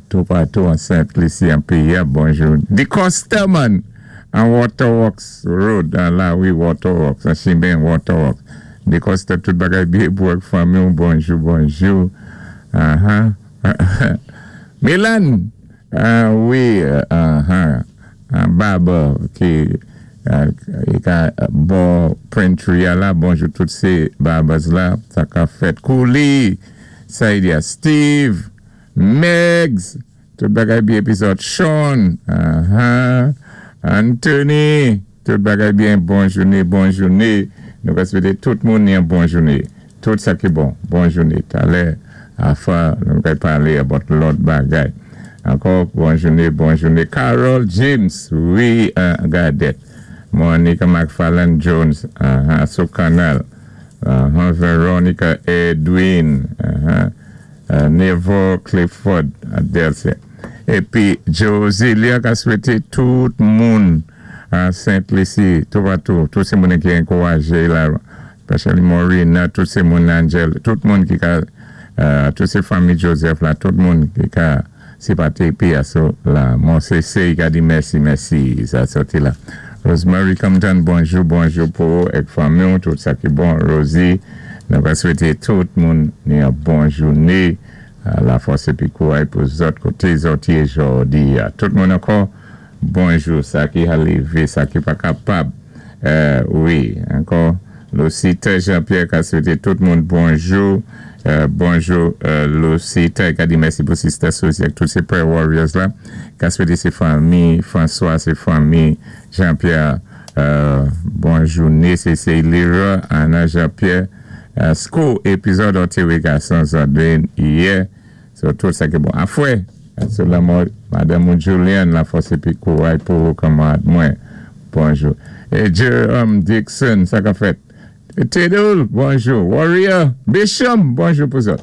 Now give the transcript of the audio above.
Toupatou an Sent Lisi an péyi-a, bonjou. Dicosta man an Waterworks Road, an lawi Waterworks, an chimen Waterworks. Dicosta, tout bagay byen pou ak fanmi-w, bonjou, bonjou. Aha. Milan, wi, aha. Barber ki ka bò Printry a la, bonjou tout sé barbers la, sa ka fèt. Kouli, Saidia, Steve, Megs, tout bagay byen epizòd Sean, aha, Anthony, tout bagay byen, bon jouné, bon jouné, nou ka swété tout moun yon bon jouné, tout sa ki bon, bon jouné, talè afa nou kay palé about lòt bagay ankò, bon jouné, bon jouné, Carol James, wi, Gadet, Monica McFarlane Jones, aha, sou kannal, aha, Veronica Edwin, aha. Neville Clifford Delcin épi Josilia ka swété tout moun a Sent Lisi toupatou, tout sé moun ki ankourajé la, especially Morina, tout sé moun Angel, tout moun ki ka, tout sé fanmi Joseph la, tout moun ki ka sipòté PSO la. Mon sé ka di mèsi, mèsi, sa sòti la. Rosemary Compton, bonjou, bonjou pou ou ak fanmi, tout sa ki bon. Rosie, nou ka swété tout moun yon bon jouné, lafòs épi kouray pou zòt koté zòt yé jòdi. Tout moun ankò, bonjou. Sa ki a lévé, sa ki pa kapab. Wi, ankò, Lucita Jean-Pierre ka swété tout moun bonjou. Bonjou Lucita, ka di mèsi pou Sister Suzy ak tout sé prayer warriors la. Ka swété sé fanmi François, sé fanmi Jean-Pierre. Bon jouné, sé Leroy, Anna Jean-Pierre. School epizòd antéwé gason zòt yè. So tout sa ki bon. Afwè, sou lanmò Madanm ou Julian, lafòs épi kouray pou ou kanmarad mwen. Bonjou. É Jerome Dixon, sa ka fèt. Tedul, bonjou. Warrior, Bishop, bonjou pou zòt.